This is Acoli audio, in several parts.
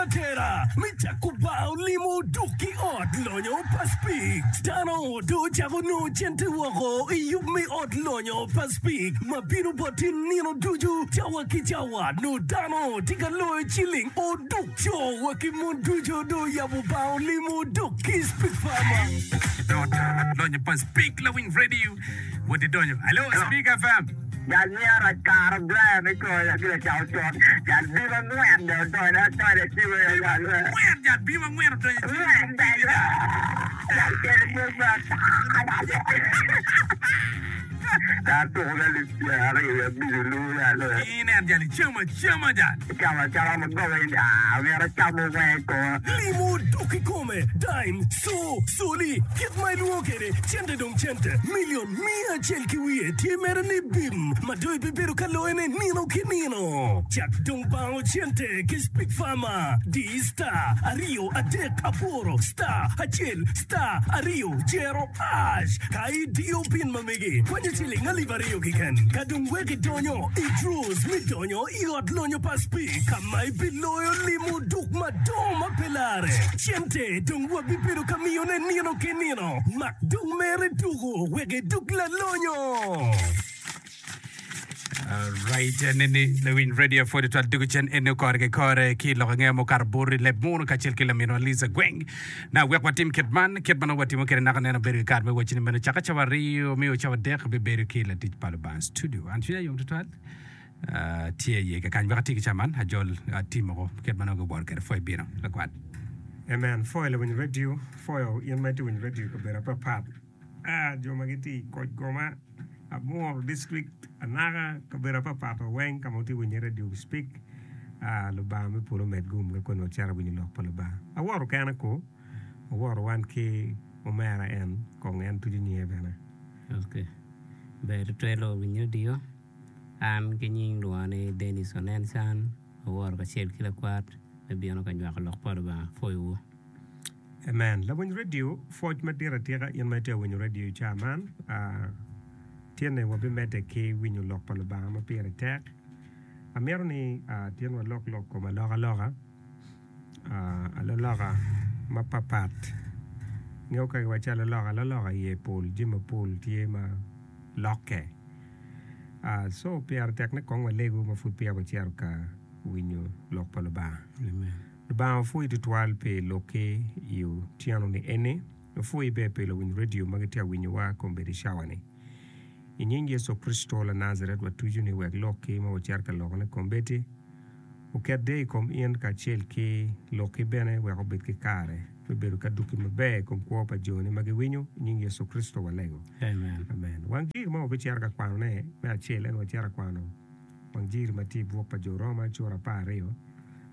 atera me cako bar olimo duk ki ot lonyo pa Speke. Dano dong ocako nongo cente woko i yub me ot lonyo pa Speke ma bino boti nino ducu cawa ki cawa. Nongo dano tye ka loyo ciling oduk co wa ki mon ducu dong oyabo bar olimo duk ki Speke Farmer. Lonyo pa Speke lawiny radio. Wot idonyo. Alo, Speak FM. Jal miya rac kara Brian me coyo ki lacako con. Jal bim angwen dong odonyo adonyo i cime Bim jal we. angwen, jal bim angwen odonyo i cime. Angwen jal we. Jal kelo pwony me ata. Jal tuko me alip pyeraryo wiye abic olu jal we. Inen jal icamo acama jal. Icamo acama ma goba in aa myero acam weng i koma. Limo dok kikome, dime, co, coli, kit ma ilwongo kwede, cente dong cente, milion miya acel ki wiye tye mere ni bim ma dong ibibedo ka loyone nino ki nino. Cak dong bango cente ki Speak Farmer, di star aryo adek aboro star acel star aryo jero ash ka idiyo pin ma megi kwanyo ciling alip aryo keken ka dong wek idonyo i draws me donyo i ot lonyo pa Speke ka ma ibiloyo limo duk madongo ma pe larre. Cente dong wabibedo ka miyone nino ki nino. Mak dong mere tuko wek iduk lalonyo! Alright, nini lawiny radio pwod twal dugu cen eni kore ki kore ki lok angeya mukato bur i leb munu kacel ki laminwa Liza Gweng. Na wek watim kit man, kit ma nongo watimo kwede naka neno bedo ki kare me wacci ni meno caka cawa aryo miyo cawa adek bibedo ki latic pa Lubanga studio. An cwinya yom tutwal. Tye iye kakany wek ati ki ca man ajol tim moko kit ma nongo giworo kwede pwoyo bino lakwat. Amen. Pwoyo lawiny radio, pwoyo in ma itye winyo radio i kabedo apapat. Ah, jo ma gitye i koc goma, Amuru district, Anaka, kabedo apapat wa weng ka ma wutye winyo radio speak. Ah, Lubanga me polo omed gum ka koni wacito winyo lok pa Lubanga. Aworo kena ko, aworo wan ki omera en, kong en tuco nyinge bene. Okay. Ber tutwal lawiny radio. An ki nying lwonga ni Denis Onen Can, aworo kacel ki lakwat me bino ka nywako lok pa Lubanga. Apwoyowu. Amen. Lawiny radio, pwoc madit atika in ma itye ka winyo radio i caa man. Tyene wabimedde ki winyo lok pa Lubanga ma pire tek. Amito ni tyen walok lok kom alokaloka, aloloka mapapat. Ingeyo ka kiwaco aloloka, aloloka iye pol, jami mapol tye ma lokke. Co pire tek ni kong walegu ma pud peya wacito ka winyo lok pa Lubanga. Lubanga wapwoyi tutwal pi lokki i otyeno-ni eni. Wapwoyi bene pi luwiny redio ma gitye ka winyowa kombeddi cawa-ni. I nying Yecu Kricito Lanajaret watuco ni wek lokki ma wacito ka lokone kombeddi oket deyo i kom in kacel ki lokki bene wek obed ki kare me bedo ki adwogi maber i kom kwo pa joni ma giwinyo. I nying Yecu Kricito walego. Amen. Wang jiri ma wabicito ka kwanone me acel en wacito ka kwano wang jiri ma tye i buk pa Jo Roma cura 12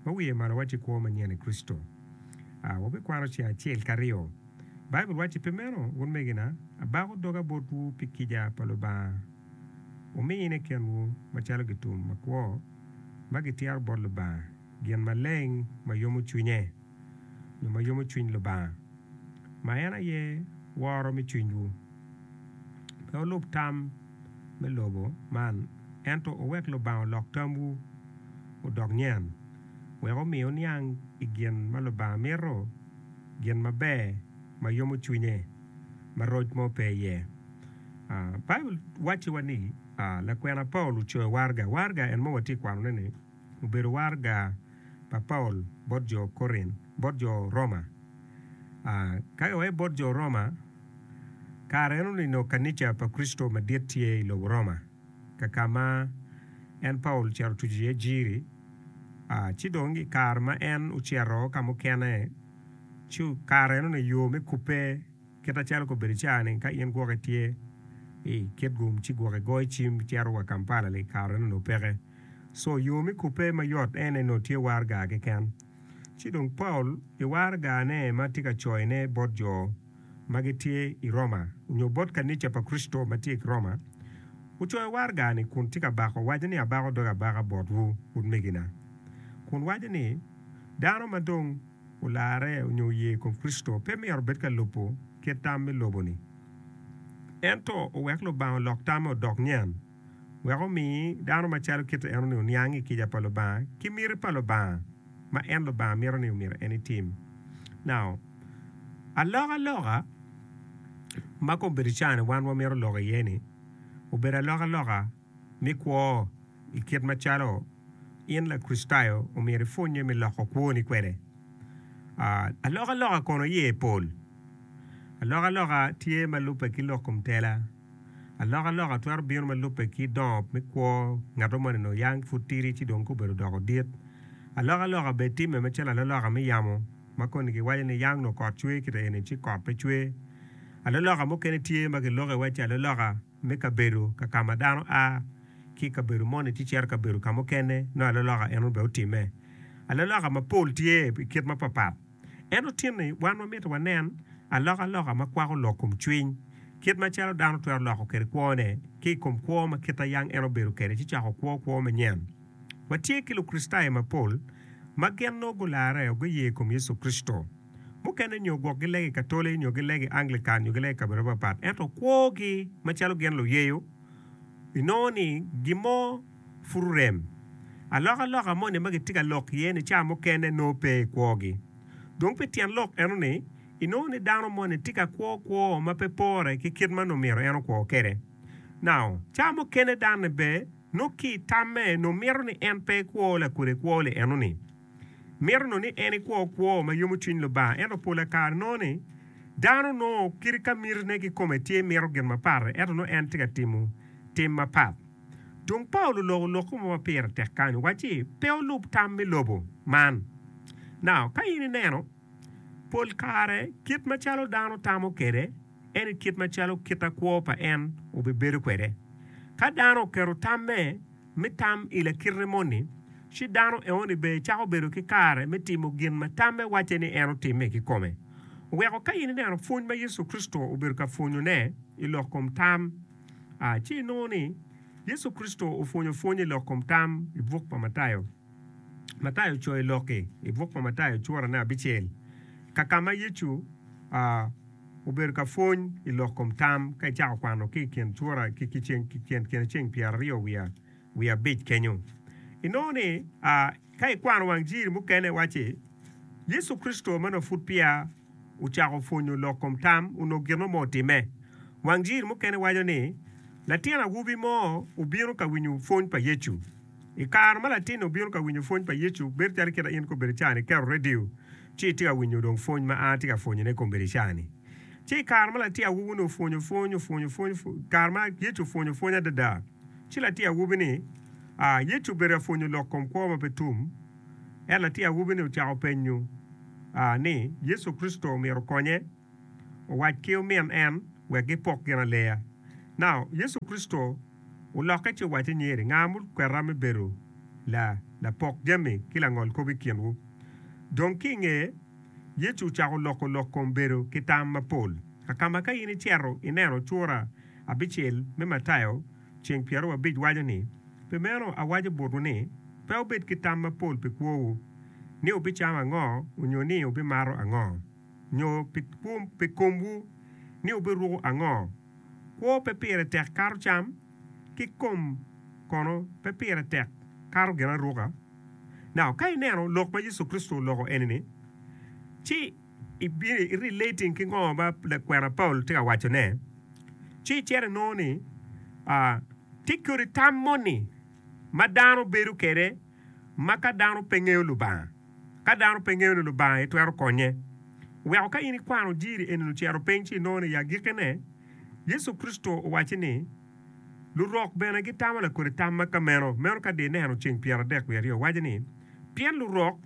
ma wiye malo wacci Kwo Manyen i Kricito. A Wabikwano ceng acel ki aryo. Baibul wacci, Pi meno, utmegina, abako doga botwu pi kica pa Lubanga, wumine kenwu macalo gitum makwo ma gityero bot Lubanga, gin maleng ma yomo cwinye, nyo ma yomo cwiny Lubanga, ma en aye woro me cwinywu. Pe wulub tam me lobo man, ento wuwek Lubanga olok tamwu odok nyen, wek omi wuniang i gin ma Lubanga mito, gin maber ma yomo cwinye, ma roc mo pe iye. Baibul wacciwa ni lakwena Paulo ocoyo waraga. Waraga en ma watye ka kwanone-ni obedo waraga pa Paulo bot jo Korint, bot jo Roma. Ka kiwaco bot jo Roma, kare eno ni nongo kanica pa Kricito madit tye i lobo Roma, ka ka ma en Paulo ocito otuco iye jiri. Ci dong i kare ma en ocito ka mukene, ci kare eno ni yo me kubbe Kit acalo kobedo ca-ni, ka in gwok itye i Kitgum ci gwok igoyo cim icito wa Kampala li kare nongo peke. So yo me kubbe mayot en aye nongo tye waraga keken. Ci dong Paul i waragane ma tye ka coyone bot jo ma gitye i Roma nyo bot kanica pa Kricito ma tye i Roma, ocoyo waraga-ni kun tye ka bako waco ni abako dog abaka botwu utmegina kun waco ni dano ma dong olarre onyo oye i kom Kricito pe myero obed ka lubo kit tam me lobo-ni. Ento owek Lubanga olok tamme odok nyen, wek omi dano macalo kite enoni oniang i kica pa Lubanga ki miti pa Lubanga. ma en Lubanga mito ni omyero en itim. Now, alokaloka ma kombeddi ca-ni wan wamito lok iye-ni obedo alokaloka me kwo i kit macalo in Lakricitayo omyero ipwonnye me loko kwoni kwede. Alokaloka kono iye pol. Alokaloka tye ma lubbe ki lok kom tela. Alokaloka twero bino ma lubbe ki dongo me kwo ngat mo moni onongo yang pud tidi ci dong kobedo odoko dit. Alokaloka bene timme macalo alaloka me yamo ma koni kiwaco ni yang onongo kot cwer kite eni ci kot pe cwer. Alaloka mukene tye ma kiloko iwaci alaloka me kabedo ka ka ma dano a ki i kabedo moni ci cito i kabedo ka mukene nongo alaloka eno bene otimme. Alaloka mapol tye i kit mapapat. Ento tin-ni, wan wamito wanen alokaloka ma kwako lok kom cwiny, kit macalo dano twero loko kwede kwone ki i kom kwo ma kite yang en obedo kwede ci cako kwo kwo manyen. Watye ki Lukricitayo mapol ma gin nongo gularre guye i kom Yecu Kricito. Mukene nyo gwok gilego i Katoli nyo gilego i Anglican nyo gilego i kabedo mapatpat, ento kwogi macalo gin luyeyo inongo ni gin mo pud orem. Alokaloka moni ma gitye ka lok iye-ni ca mukene nongo pe i kwogi. Dong pi tyen lok eno-ni, inongo ni dano moni tye ka kwo kwo ma pe pore ki kit ma nongo myero en okwo kwede. Now, ca mukene dano-ni bene nongo ki i tamme nongo mito ni en pe ekwo lakodi kwo-li eno-ni. Mito nongo ni en ekwo kwo ma yomo cwiny Lubanga. Ento pola kare nongo ni dano nongo kadi ka mitine kikome tye mito gin mapat-ti, ento nongo en tye ka timo tim mapat. Dong Paulo oloko lok mo ma pire tek kany, owacci, Pe wulub tam me lobo man. Now, ka in ineno, pol kare kit macalo dano tamo kwede en i kit macalo kita kwo pa en obibedo kwede. Ka dano oketo tamme me tam i lakite moni, ci dano eoni bene cako bedo ki kare me timo gin ma tamme wacce ni en otimme kikome. Oweko ka in ineno pwony ma Yecu Kricito obedo ka pwonyone i lok kom tam, A Ci inongo ni Yecu Kricito opwonyo pwony i lok kom tam i buk pa Matayo. Matayo ocoyo lok-ki i buk pa Matayo curane abicel, ka ka ma Yecu obedo ka pwony i lok kom tam ka icako kwano ki i kin cura ki kine ceng pyeraryo wiye abic kenyo. Inongo ni ka ikwano wang jiri mukene wacci Yecu Kricito ma nongo pud peya ocako pwonyo lok kom tam onongo gin mo otimme. Wang jiri mukene waco ni, Latin awobi mo obino ka winyo pwony pa Yecu. I kare ma latin-ni obino ka winyo pwony pa Yecu, bedo calo kit ma in kombeddi ca-ni iketo redio ci itye ka winyo dong pwony ma an atye ka pwonyone kombeddi ca-ni. Ci i kare ma latin awobi-ni opwonyo pwony, opwonyo pwony, i kare ma Yecu opwonyo pwony adada, ci latin awobi-ni, Yecu obedo ka pwonyo lok kom kwo ma pe tum. Ento latin awobi-ni ocako penyo ni Yecu Kricito omyero okonye owac ki omin en wek gipok ginaleya. Now, Yecu Kricito olokke ci owacce nyeri, Nga mukweta me bedo lapok jami ki langol kop i kinwu? Dong ki i nge, Yecu ocako loko lok kom bedo ki tam mapol. Kakama ka in icito ineno cura abicel me Matayo ceng pyerawic waco ni, Pi meno awaco botwu ni, pe wubed ki tam mapol pi kwowu, ni wubicamo ango, onyo ni wubimato ango, nyo pi komwu, ni wubiruko ango. Kwo pe pire tek kato cam, ki kom kono pe pire tek kato ginaruka? Now, ka ineno lok ma Yecu Kricito oloko eni-ni, ci i relating ki ngo ma lakwena Paulo tye ka wacone, ci icito inongo ni tye kodi tam moni ma dano bedo kwede ma ka dano pe ngeyo Lubanga. Ka dano pe ngeyo ni Lubanga aye twero konye. Oweko ka in ikwano jiri eni ocito piny ci inongo ni i agikkine Yecu Kricito owacci ni lurok bene gitamo lakodi tam ma ka meno. Meno ka dong ineno ceng 32 waco ni pien lurok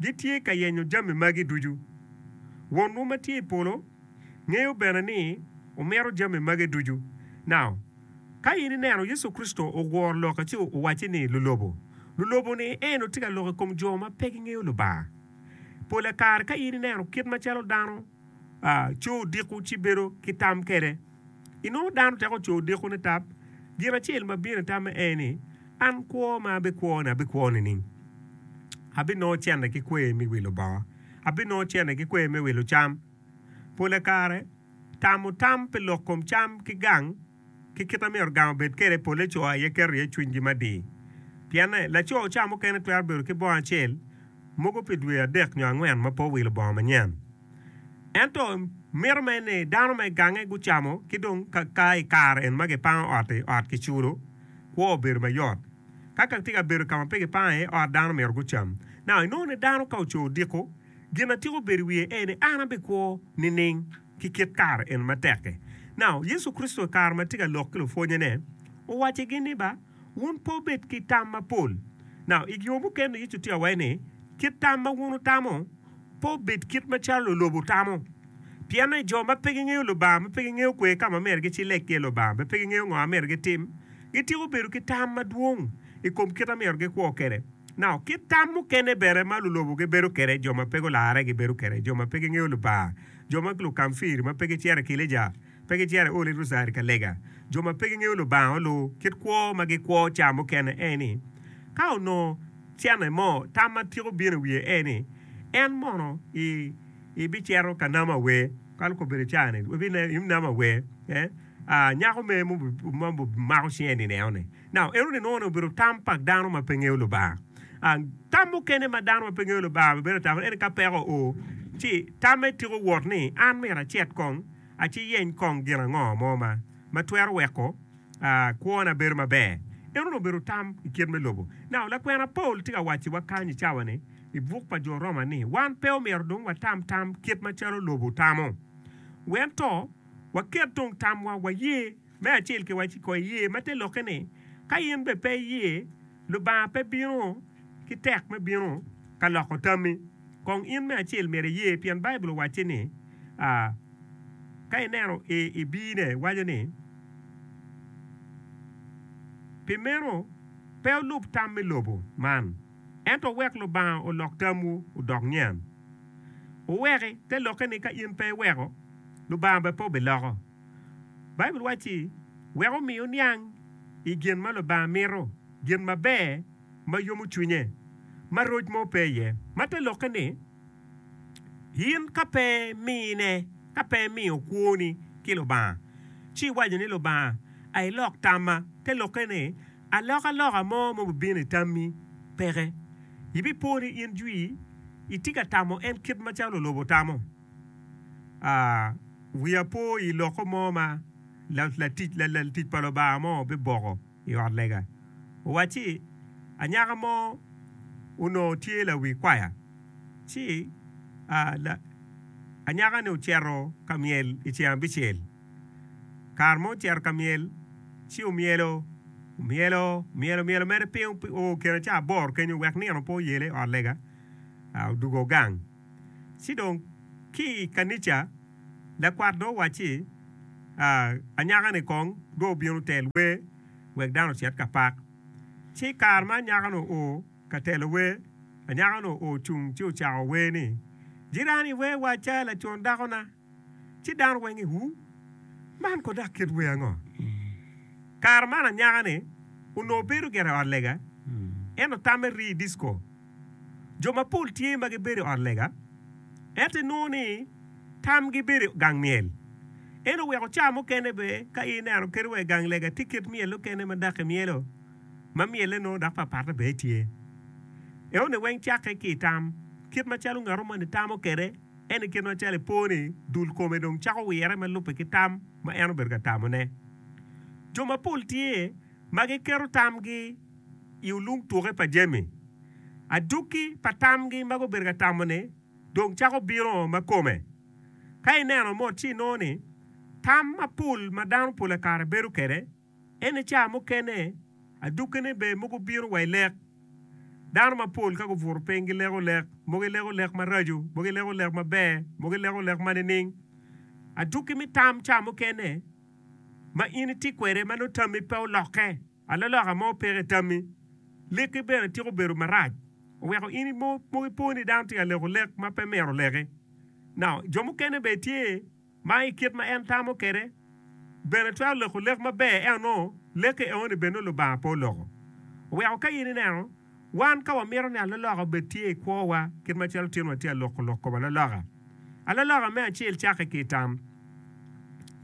gitye ka yenyo jami magi ducu. Wonwu ma tye i polo ngeyo bene ni wumito jami magi ducu. Now, ka in ineno Yecu Kricito ogworo lokke ci owacci ni lulobo. Lulobo-ni en tye ka lok i kom jo ma pe gingeyo Lubanga. Pola kare ka in ineno kit macalo dano co odiko ci bedo ki tam kwede, inongo dano teko co odiko ni tap, gin acel ma bino i tamme en ni, 'An kwo ma abikwo-ni abikwo nining? Abinongo cente ki kwer me wilo bongo? Abinongo cente ki kwer me wilo cam? Pola kare, tamo tam pi lok kom cam ki gang ki kit ma myero gang obed kwede polle co aye keto iye cwinygi mading. Pienne, laco ca mukene twero bedo ki bongo acel. mogo pi dwe adek nyo angwen ma pe owilo bongo manyen. Ento mito mere ni dano ma i gange gucamo ki dong ka i kare en ma gipango ot-ti, ot kiculo, kwo obedo mayot. Ka ka tye ka bedo ka ma pe gipango iye ot, dano myero gucam. Now, inongo ni dano ka oco odiko, gin ma tika obedo i wiye en ni, 'An abikwo nining ki kit kare eni matek-ki? Now, Yecu Kricito i kare ma tye ka lok ki lupwonnyene, owaccigi ni, Ba, wun pe wubed ki tam mapol. Now, i yo mukene Yecu tye ka waco ni, Kit tam ma wun wutamo pe obed kit macalo lulobo tamo. Pienno jo ma pe gingeyo Lubanga, ma pe gingeyo kwer ka ma myero gicileg ki iye Lubanga, ma pe gingeyo ngo ma myero gitim, gitiko bedo ki tam madwong i kom kit ma myero gikwo kwede. Now, kit tam mukene bene ma lulobo gibedo kwede, jo ma pe gularre gibedo kwede, jo ma pe gingeyo Lubanga, jo ma lukamfiri ma pe gicito i kilija, pe gicito i Holy Rosary ka lega, jo ma pe gingeyo Lubanga olu, kit kwo ma gikwo ca mukene en ni, ka onongo cene mo, tam ma tiko bino i wiye en ni, en mono i ibicito ka namo awer, kalo kobedo ca-ni, ibinamo awer, eh, ah, nyako me ma mako cinge ni neno-ni. Now, enoni nongo ni obedo tam pa dano ma pe ngeyo Lubanga. Ah, tam mukene ma dano ma pe ngeyo Lubanga bedo tamo en ka peko oo, ci tamme tiko wot ni, an myero acit kong, aciyeny kong gin ango mo ma ma twero weko ah, kwona bedo maber. Enoni obedo tam i kit me lobo. Now, lakwena Paul tye ka wacciwa kany i cawa-ni i buk pa jo Roma ni, wan pe omyero dong watam tam kit macalo lobo tamo. Wento waket dong tamwa waye. Me acel kiwaci ko iye ma te lokke ni, ka in bene pe iye, Lubanga pe bino ki tek me bino ka loko tammi. Kong in me acel myero iye pien Baibul owacci ni, ka ineno i bine waco ni, Pi meno pe wulub tam me lobo man, ento wuwek Lubanga olok tamwu odok nyen. Wuweki, te lokke ni ka in pe iweko, Lubanga bene pe obiloko. Baibul wacci, Wek omi wuniang i gin ma Lubanga mito, gin maber ma yomo cwinye, ma roc mo pe iye. Ma te lokke ni, in ka pe imine, ka pe imiyo kwoni ki Lubanga, ci iwaco ni, Lubanga, a ilok tamma. Te lokke ni, alokaloka mo ma obibino i tammi peke. Ibipo ni in jwi itye ka tamo en kit macalo lobo tamo. Wiya po i loko mo ma latic pa Lubanga mo biboko i ot lega. Owacci, Anyaka mo onongo tye lawi kwaya, ci anyaka-ni ocito ka myel i ceng abicel. Kare ma ocito ka myel, ci omyelo, omyelo, omyelo, omyelo mere piny oo kine ca aboro kenyo wek nino pe oyele i ot lega, odwogo gang. Ci dong ki i kanica, lakwat dong owacci, Anyaka-ni kong dong obin otel wer wek dano ocit ka pak. Ci i kare ma anyaka-ni oo ka telo wer, anyaka-ni ocung ci ocako wer ni, Jirani wer wacca lacon dakona. Ci dano weng i-wu, Man ko dok kit wer ango? Kare man anyaka-ni onongo bedo gire i ot lega, ento tamme rii i disco. Jo mapol tye ma gibedo i ot lega, ento inongo ni tamgi bedo i gang myel. En oweko ca mukene bene ka in ineno kadi wa i gang lega tye kit myel mukene ma dok imyelo ma myelle nongo dok papatte bene tye. Enoni weng cakke ki i tam. Kit macalo ngat moni tamo kwede, en i kit macalo ipo ni dul kome dong cako wire ma lubbe ki tam ma en obedo ka tamone. Jo mapol tye ma giketo tamgi i olung tuke pa jami. Adwogi pa tamgi ma gubedo ka tamo-ni dong cako bino ma kome. Ka ineno mot ci inongo ni tam mapol ma dano pol kare bedo kwede en ca mukene adwogine bene mogo bino wa i lek. Dano mapol ka gubuto piny gileko lek, mogo gileko lek maraco, mogo gileko lek maber, mogo gileko lek ma nining. Adwogi me tam ca mukene ma in itye kwede ma nongo tammi pe olokke. Alaloka mo peke i tammi. Lekki bene tiko bedo marac, oweko in mogo ipo ni dano tye ka leko lek ma pe myero oleki. Now, jo mukene bene tye ma i kit ma en tamo kwede bene twero leko lek maber ento nongo lekke eoni bene nongo Lubanga pe oloko. Oweko ka in ineno, wan ka wamito ni alaloka obed tye i kwowa kit macalo tin watye ka loko lok kom alaloka. Alaloka me acel cakke ki i tam.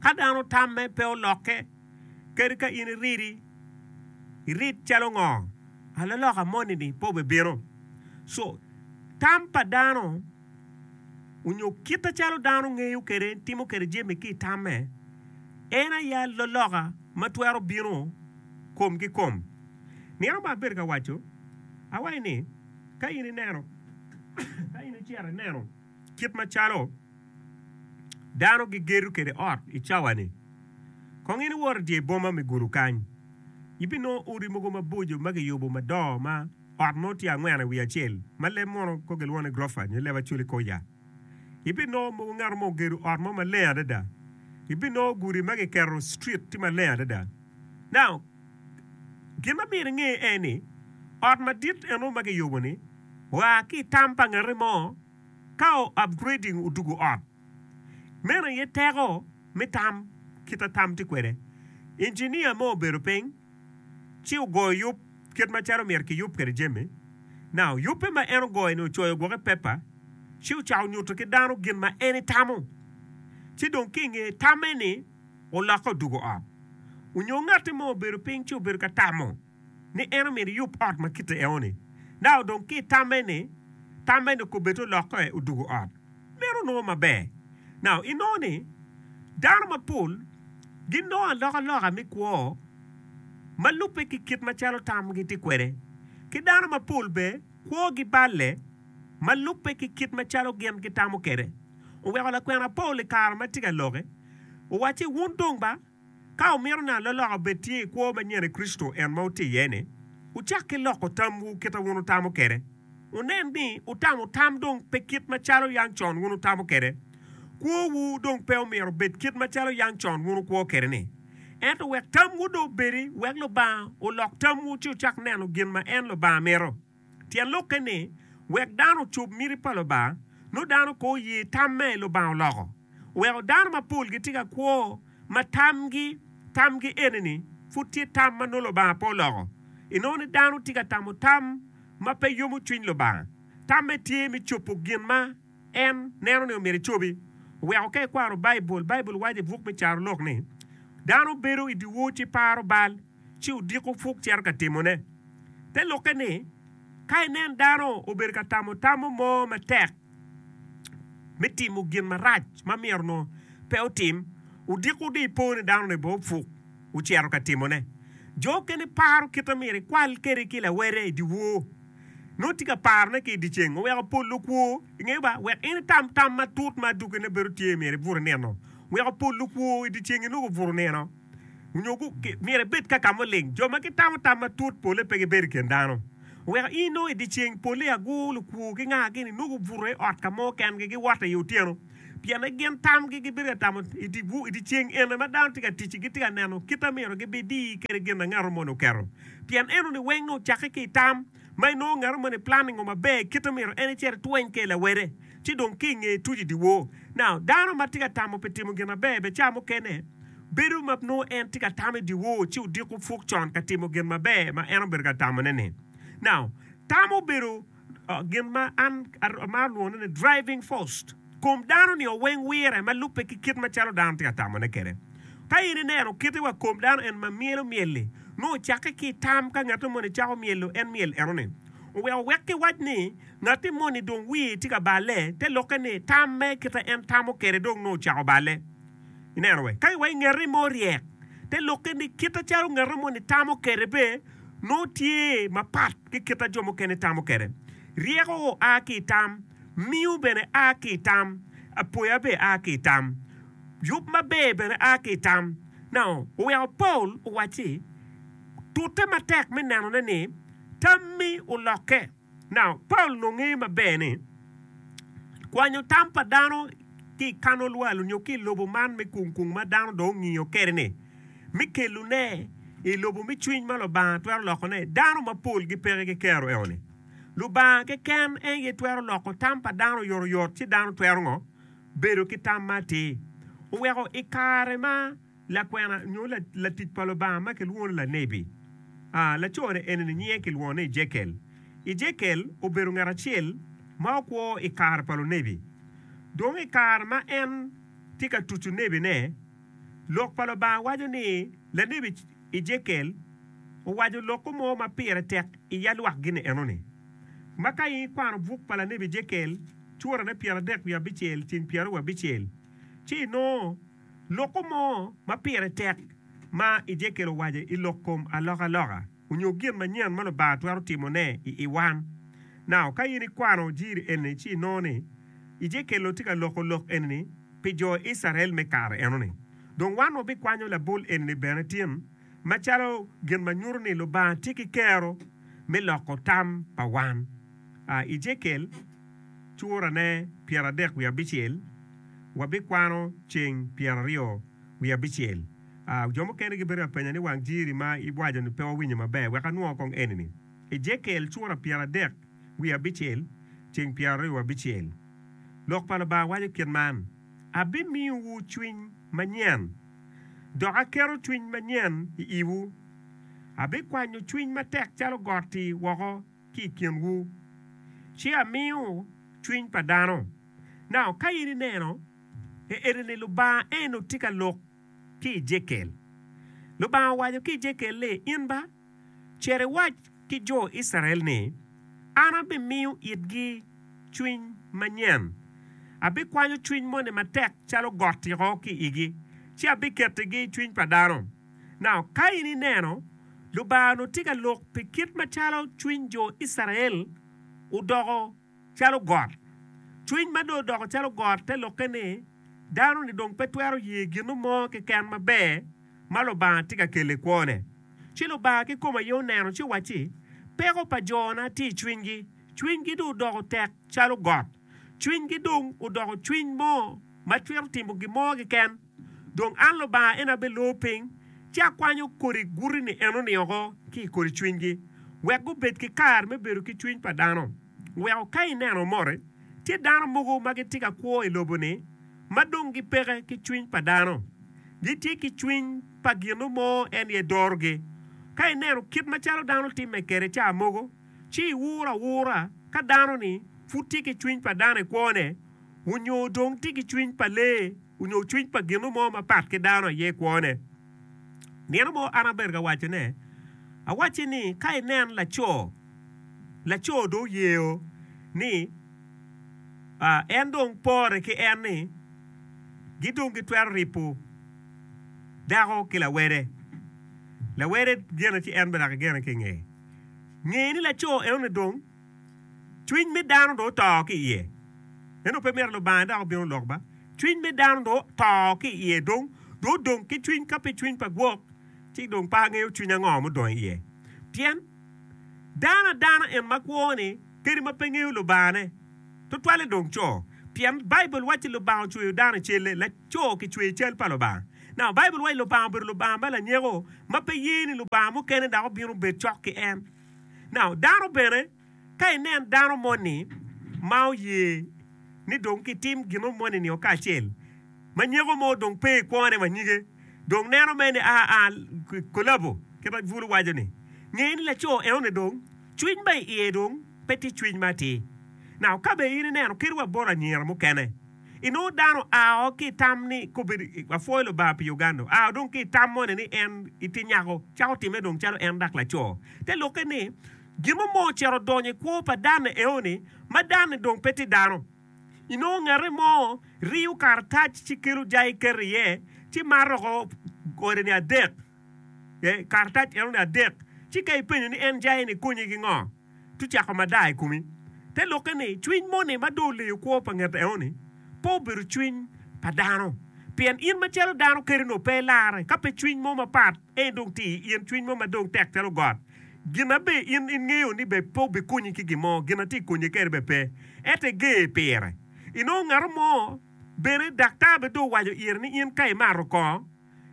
Ka dano tamme pe olokke, Kadi ka in iridi, irid calo ngo, alaloka moni-ni pe obibino. So, Tam pa dano onyo kit acalo dano ngeyo kwede, timo kwede jami ki i tamme, en aye aloloka ma twero bino kom ki kom. Nino ma abedo ka waco, awaco ni, ka in ineno, ka in icito ineno kit macalo dano gigedo kwede ot i cawa-ni, kong in iwot i dye boma me Gulu kany, ibinongo odi mogo maboco ma kiyubo madongo ma Ot mo tye angwen i wi acel ma leb mono ko gilwongo ni gurofa nyo leb Acholi koya. Ibinongo mogo ngat mo ogedo ot mo maleng adada. Ibinongo gudi ma giketo street tye maleng adada. Now, gin ma myero inge en ni ot madit eno ma giyubo ni oa ki i tam pa ngati mo ka o upgrading odugo ot. Meno aye teko me tam kit ma tam tye kwede. Engineer mo obedo piny. ci ogoyo yub kit macalo myero kiyub kwede jami. Now, yubbe ma en ogoyo-ni ocoyo gwok i pepa, ci ocako nyuto ki dano gin ma en etamo. Ci dong ki i nge tamme-ni, olokke odwogo ot. Onyo ngatti mo obedo piny ci obedo ka tamo ni en omyero eyub ot ma kite eo-ni. Now, dong ki i tamme-ni, tamme-ni okobbe olokke odwogo ot. Meno onongo maber. Now, inongo ni dano mapol ginongo alokaloka me kwo ma lubbe ki kit macalo tamgi tye kwede. Ki dano mapol bene kwogi balle ma lubbe ki kit macalo gin gitamo kwede. Oweko lakwena Paulo i kare ma tye ka loki owacci, Wun dong ba, ka wumito ni aloloka obed tye i kwo manyen i Kricito en ma wutye iye-ni, wucak ki loko tamwu kit ma wun wutamo kwede. Wunen ni wutamo tam dong pe kit macalo yam con wun wutamo kwede. Kwowu dong pe omyero obed kit macalo yam con wun wukwo kwede-ni. Ento wek tamwu dong obedi, wek Lubanga olok tamwu ci wucak neno gin ma en Lubanga mito. Tyen lokke ni, wek dano ocob miti pa Lubanga, nongo dano kong oye tamme Lubanga oloko. Oweko dano mapol gitye ka kwo ma tamgi, tamgi eni-ni pud tye tam ma nongo Lubanga pe oloko. Inongo ni dano tye ka tamo tam ma pe yomo cwiny Lubanga. Tamme tye me cobo gin ma en neno ni omyero ecobi. Oweko ka ikwano Baibul, Baibul waco i buk me Carolok ni, Dano bedo i dyewor ci paro bal, ci odiko puk cito ka timone. Te lokke ni, ka inen dano obedo ka tamo tamo mo matek me timo gin marac ma myero onongo pe otim, odiko dong ipo ni dano-ni bene opuk ocito ka timone. Jo okene paro kit ma myero ekwal kwede ki lawede i dyewor. Nongo tye ka parone ki i dyeceng oweko pol lukwo ingeyo ba wek in itam tam matut ma adwogine bedo tye myero ibut inino weko pol lukwo i dyeceng inongo obuto nino nyo myero ibed ka ka muling jo ma gitamo tam matut pole pe gibedo i kin dano oweko in inongo i dyeceng pole agur lukwo ki nga gini nongo obuto i ot ka mo kengi giwoto i otyeno pienne gin tamgi gibedo ka tamo i dyeceng ene ma dano tye ka tic-ci gitye ka neno kit ma myero gibidi kwede gin ma ngat moni oketo. Pien enoni weng nongo ocakke ki i tam ma inongo ngat moni planningo maber kit ma myero en ecit etweny kwede lawede ci dong ki i nge tuco i dyewor. Now, dano ma tye ka tamo pi timo gin maber bene ca mukene bedo ma nongo en tye ka tam i dyewor ci odiko puk con ka timo gin maber ma en obedo ka tamone-ni. Now, tam obedo Gin ma an amaro lwongone ni driving force, kom dano-ni oweng wire ma lubbe ki kit macalo dano tye ka tamone kwede. Ka in ineno kite wa kom dano en ma myelo myel-li, nongo ocakke ki i tam ka ngat moni cako myelo en myel enoni. Oweko wek kiwac ni ngatti moni dong wiye tye ka balle, te lokke ni tam me kite en tamo kwede dong nongo ocako balle. Ineno we? Ka iwaco ngati mo ryek, te lokke ni kite calo ngati moni tamo kwede be nongo tye mapat ki kit ma jo mukene tamo kwede. Ryeko a ki i tam, miyo bene a ki i tam, apoya bene a ki i tam, yub maber bene a ki i tam. Now, oweko Paul owacci, Tute matek me nenone ni tammi olokke. Now, Paul onongo ngeyo maber ni kwanyo tam pa dano ki i kano lwal nyo ki i lobo man me kung kung ma dano dong ongiyo kwede-ni, me kelone i lobo me cwiny ma Lubanga twero lokone, dano mapol gipeke ki kero enoni. Lubanga keken en aye twero loko tam pa dano oyotoyot ci dano twero ngo? Bedo ki tam ma atir. Oweko i kare ma lakwena nyo latic pa Lubanga ma kilwongo ni lanebi, laco-ni eni-ni nyinge kilwongo ni Ejekiel. Ejekiel obedo ngat acel ma okwo i kare pa lunebi. Dong i kare ma en tye ka tuco nebine, Lok pa Lubanga waco ni lanebi Ejekiel owaco lokko mo ma pire tek i yalwak gin enoni. Ma ka in ikwano buk pa lanebi Ejekiel curane 39 ceng 26, ci inongo loko mo ma pire tek ma Ejekiel owaco i lok kom alokaloka onyo gin manyen ma Lubanga twero timone i i wan. Now, ka in ikwano jiri eni ci inongo ni Ejekiel onongo tye ka loko lok eni pi jo Icrael me kare enoni. Dong wan wabikwanyo labol eni bene tin macalo gin ma nyuto ni Lubanga tye ki kero me loko tam pa wan. A Ejekiel curane 39, wabikwano ceng 29. A Jo mukene gibedo ka penya ni wang jiri ma iwaco-ni pe wawinyo maber. Wek anwo kong eni-ni. Ejekiel cura 39, ceng 26. Lok pa Lubanga waco kit man, Abimiyowu cwiny manyen, dok aketo cwiny manyen i iwu. Abikwanyo cwiny matek calo got-ti woko ki i kinwu, ci amiyo cwiny pa dano. Now, ka in ineno, eni-ni Lubanga eno tye ka lok ki Ejekiel. Lubanga owaco ki Ejekiel ni, In ba, cit iwac ki jo Icrael ni, 'An abimiyo itgi cwiny manyen, abikwanyo cwiny moni matek calo got-tiko ki i igi, ci abiketigi cwiny pa dano. Now, ka in ineno, Lubanga onongo tye ka lok pi kit macalo cwiny jo Icrael odoko calo got. Cwiny ma dong odoko calo got te lokke ni dano-ni dong pe twero ye gin mo keken maber ma Lubanga tye ka kelo i kwone. Ci Lubanga kikome aye oneno ci owacci, Peko pa jona tye i cwinygi, cwinygi dong odoko tek calo got, cwinygi dong odoko cwiny mo ma twero timo gin mo keken. Dong an Lubanga en abelor piny, ci akwanyo kodi guti-ni enoni oko ki i kodi cwinygi, wek gubed ki kare me bedo ki cwiny pa dano. Weko ka ineno moti, tye dano mogo ma gitye ka kwo i lobo-ni ma dong gipeke ki cwiny pa dano. Gitye ki cwiny pa gin mo en aye dorogi. Ka ineno kit macalo dano timme kwede ca mogo, ci iwuro awura ka dano-ni pud tye ki cwiny pa dano i kwone onyo dong tye ki cwiny pa lee onyo cwiny pa gin mo mapat ki dano aye i kwone. Nino mo an abedo ka wacone, awacce ni ka inen laco, laco dong oyeo ni en dong pore ki en ni gidong gitwero ripo dako ki lawede. Lawede gene ci en bene dok egene ki i ngeye. Nge ni laco enoni dong cwiny me dano dong oto ki iye. Ento pe myero Lubanga dok obin olok ba. Cwiny me dano dong oto ki iye dong dong odong ki cwiny ka pe cwiny pa gwok ci dong pe angeyo cwiny ango mudong iye. Pien dano adana en ma kwo ni kadi ma pe ngeyo Lubangane tutwalle dong co. Pien Baibul wacci Lubanga ocweyo dano i celle, laco kicweyo i cal pa Lubanga. Now Baibul wacci Lubanga obedo Lubanga ma lanyeko ma pe ye ni Lubanga mukene dok obin obed cok ki en. Now dano bene ka inen dano moni ma oye ni dong kitim gin mo moni-ni kacel, ma nyeko mo dong pe i kwone wa nyige, dong neno mere ni aa kolabo kit ma bulu waco ni, nge ni laco enoni dong cwiny ma i iye dong pe tye cwiny ma atir. Now ka bene in ineno kadi wa bot anyira mukene, inongo dano oa ki i tam ni kobedo apwoyo Lubanga pi Uganda, oa dong ki i tam moni ni en itye nyako, cako timme dong calo en dak laco. Te lokke ni gin mo mo ocito odonyo i kwo pa danne eoni ma danne dong pe tye dano. Inongo ngate mo riyo karatac ci kelo jai keto iye ci mato oko ode ni adek, karatac enoni adek ci ka ipenyo ni en jai-ni konyi ki ngo? Ci ocako madar i komi. Te lokke ni cwiny moni ma dong oleyo kwo pa nget enoni pe obedo cwiny pa dano. Pien in macalo dano kadi onongo pe ilarre ka pe cwiny mo mapat en dong tye i in, cwiny mo ma dong tek calo got. Gin ma be in ingeyo ni be pe obikonyi ki gin mo, gin ma tye i konyi kede bene pe, ento iger pire. Inongo ngat mo bene daktar bene dong owaco ire ni in ka imato kongo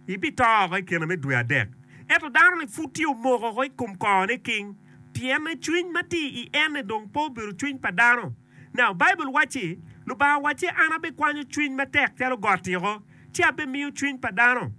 ibito oko i kine me dwe adek. Ento dano-ni pud tye omoko oko i kom kongone king, pienne cwiny ma tye i en-ni dong pe obedo cwiny pa dano. Now, Baibul wacci, Lubanga owacci, An abikwanyo cwiny matek calo got-ti oko, ci abimiyo cwiny pa dano.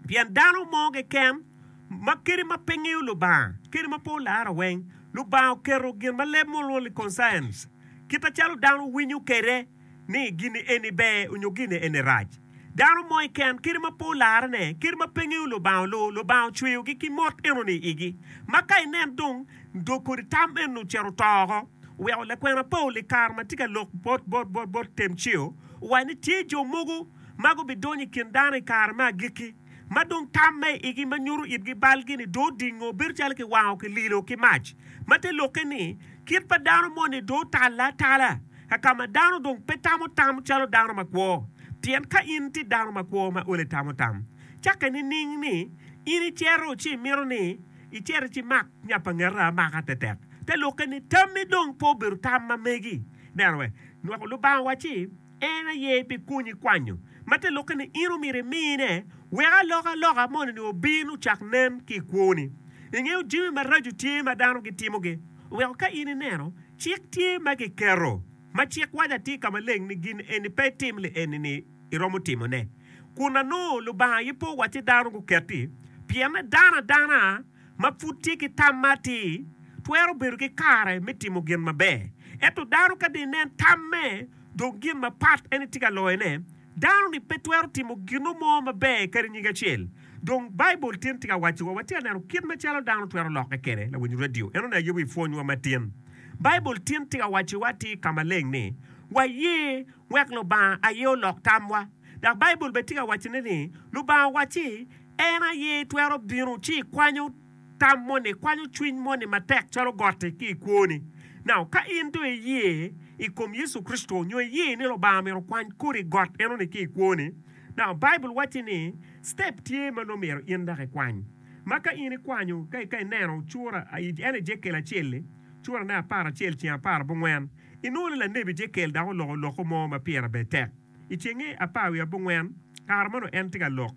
Pien dano mo keken ma kadi ma pe ngeyo Lubanga, kadi ma pe olaro weng, Lubanga oketo gin ma leb mo lwongo ni conscience, kit macalo dano winyo kwede ni gin eni ber nyo gin eni rac. Dano mo keken kadi ma pe olarone, kadi ma pe ngeyo Lubanga olu, Lubanga ocweyogi ki mot enoni i igi. Ma ka inen dong, dong kodi tam eni ocito oto oko. Oweko lakwena Paulo i kare ma tye ka lok bot bot bot bot Temceo owaco ni tye jo mogo ma gubidonyo i kin dano i kare me agikki ma dong tam ma i igi ma nyuto itgi balgi-ni dong odingo bedo calo kiwango kililo ki mac. Ma te lokke ni, kit pa dano moni dong otalle atala ka ka ma dano dong pe tamo tam calo dano makwo. Pien ka in itye dano makwo ma olo itamo tam, cakke nining ni in icito ci imito ni icit ci imak nya pa ngeti amaka tetek? Te lokke ni tammi dong pe obedo tam ma megi. Neno we, nwako Lubanga owacci en aye bikonyi kwanyo, ma te lokke ni in omyero imine wek alokaloka moni-ni obin ocak nen ki i kwoni. Ingeyo jami maraco tye ma dano gitimogi, oweko ka in ineno cik tye ma kiketo ma cik waco atir ka maleng ni gin eni pe itim li eni-ni iromo timone. Kun anongo Lubanga aye pe owacci dano guket-ti, pienne dano adana ma pud tye ki tam ma atir twero bedo ki kare me timo gin maber. Ento dano ka dong inen tamme dong gin mapat en tye ka loyone, dano-ni pe twero timo gino mo maber kadi nyig acel. Dong Baibul tin tye ka wacciwa, watye ka neno kit macalo dano twero lokke kwede. Lawiny redio, en onongo ayubo i pwonywa matin. Baibul tin tye ka wacciwa atir ka maleng ni, waye wek Lubanga aye olok tamwa. Dok Baibul bene tye ka wacone ni, Lubanga owacci, En aye twero bino ci ikwanyo tam moni, ikwanyo cwiny moni matek calo got-ti ki i kwoni. Now, ka in dong iye i kom Yecu Kricito nyo iye ni Lubanga myero okwany kodi got enoni ki i kwoni, now Baibul wacci ni step tye ma nongo myero in dok ikwany. Ma ka in ikwanyo, ka ka ineno cura, en Ejekiel acel-li, curane aparacel ceng aparabongwen, inongo ni lanebi Ejekiel dok oloko loko mo ma pire ber tek. I cenge apar wiye abongwen, kare ma onongo en tye ka lok,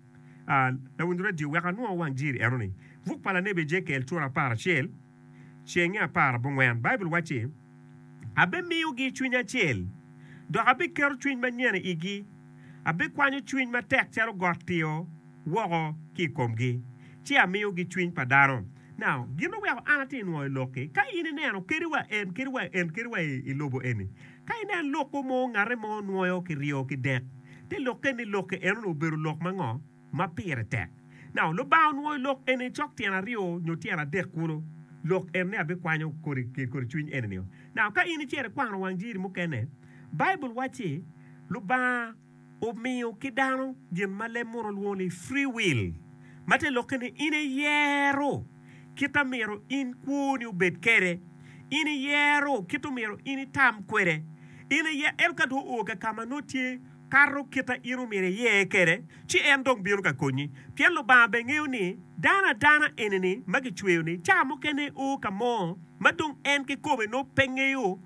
lawiny redio wek anwo wang jiri eno-ni. Buk pa lanebi Ejekiel cura aparacel, cenge aparabongwen, Baibul wacci, Abimiyogi cwiny acel, dok abiketo cwiny manyen i igi, abikwanyo cwiny matek calo got tio woko ki i komgi, ci amiyogi cwiny pa dano. Now, gin oweko an atye nwoyo lok-ki, ka in ineno kadi wa en, kadi wa en, kadi wa i lobo eni, ka inen lokko mo ngate mo nwoyo kiryo kidek, te lokke ni lokke enoni obedo lok ma ngo? Ma pire tek. Now, Lubanga onwoyo lok eni cok tyen aryo nyo tyen adek kulu, lok en ni abikwanyo kodi kodi cwiny eni-nio. Now, ka in icito ikwano wang jiri mukene, Baibul wacci Lubanga omiyo ki dano gin ma leb muno lwongo ni free will, ma te lokke ni in iyero kit a myero in kwoni obed kwede, in iyero kit omyero in itam kwede, in iye ento ka dong oo ka ka ma nongo tye kato kit a in omyero iyer kwede, ci en dong bino ka konyi. Pien Lubanga bene ngeyo ni dano adana eni-ni ma kicweyo-ni ca mukene o ka mo ma dong en kikome nongo pe ngeyo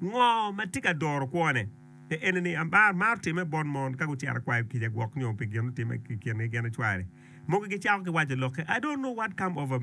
ngo ma tye ka doro kwone. Eni ni amar mar time bot mon ka gucito kwayo kica gwok nyo pi gin mutimme i kingi gin ki cware. Mogo gicako ki waco lokke, I don't know what come over me.